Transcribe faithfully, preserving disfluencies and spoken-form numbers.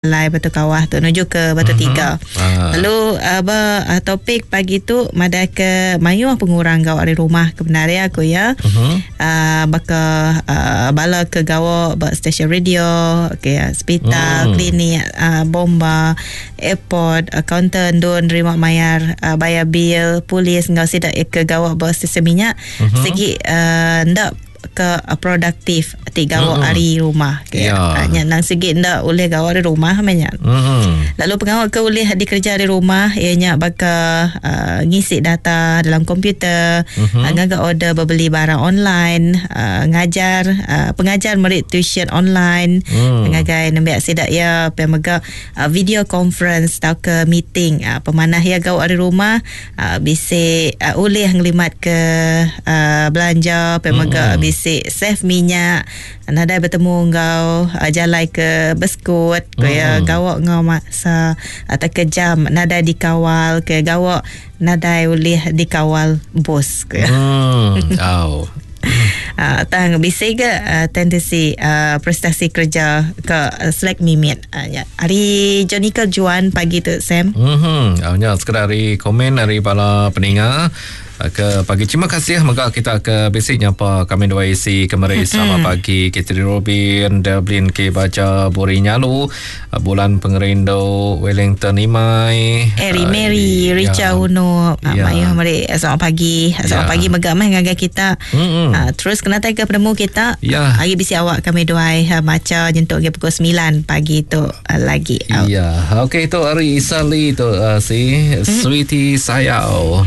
Lai Batu Kawah tu menuju ke Batu mm-hmm. Tiga. Ah. Lalu uh, ba uh, topik pagi tu madah ke mayuh pengurang gau ari rumah ke benar ya aku ya. Mm-hmm. Uh, baka uh, bala ke gawa ba stesen radio, okay, hospital, mm. klinik, uh, bomba, airport, accountant don nerima mayar uh, bayar bil, polis ngau sidak ke gawa ba stesen minyak mm-hmm. segi uh, ndak ke produktif ti gawa mm-hmm. ari rumah ke yeah. Nya nang segi ndak boleh gawa di rumah banyak. Mm-hmm. Lalu pengawal ke boleh dikerja di rumah ianya baka uh, ngisi data dalam komputer, mm-hmm. uh, ngaga order berbeli barang online, uh, ngajar uh, pengajar merit tuition online, mm. ngagai nembiak sidak ya pemega uh, video conference atau ke meeting uh, pemanah ya gawa di rumah uh, bisa uh, ulih ngelimat ke uh, belanja pemega mm. Bisi save minyak nadai bertemu ngau uh, jalan ke beskut ke mm. gawak ngau masa atau ke jam nadai dikawal ke gawak nadai ulih dikawal bos ke. Hmm. Oh. Uh, tang bisi ke uh, tendensi uh, prestasi kerja ke uh, Slack mimit uh, ya. Hari Jonica Juan pagi tu Sam. Mhm. Uh, nya sekedar hari komen dari bala peninga ke pagi. Terima kasih mega kita ke basic nyapa kami dua isi kemari. Selamat pagi Kathy Robin, Dublin K Baca Buri Nyalu, Bulan Pengerindu, Wellington Imai, Eri Mary, uh, Richa Uno, ya. Mayu mari selamat pagi. Selamat ya. pagi mega meh ngagai kita. Uh, terus kena tai ke penemu kita. Ya. Hari bisi awak kami dua uh, maca nyentuk ke pukul sembilan pagi tu uh, lagi. Ya. Okey itu hari Isali tu uh, si mm. Sweetie Sayau.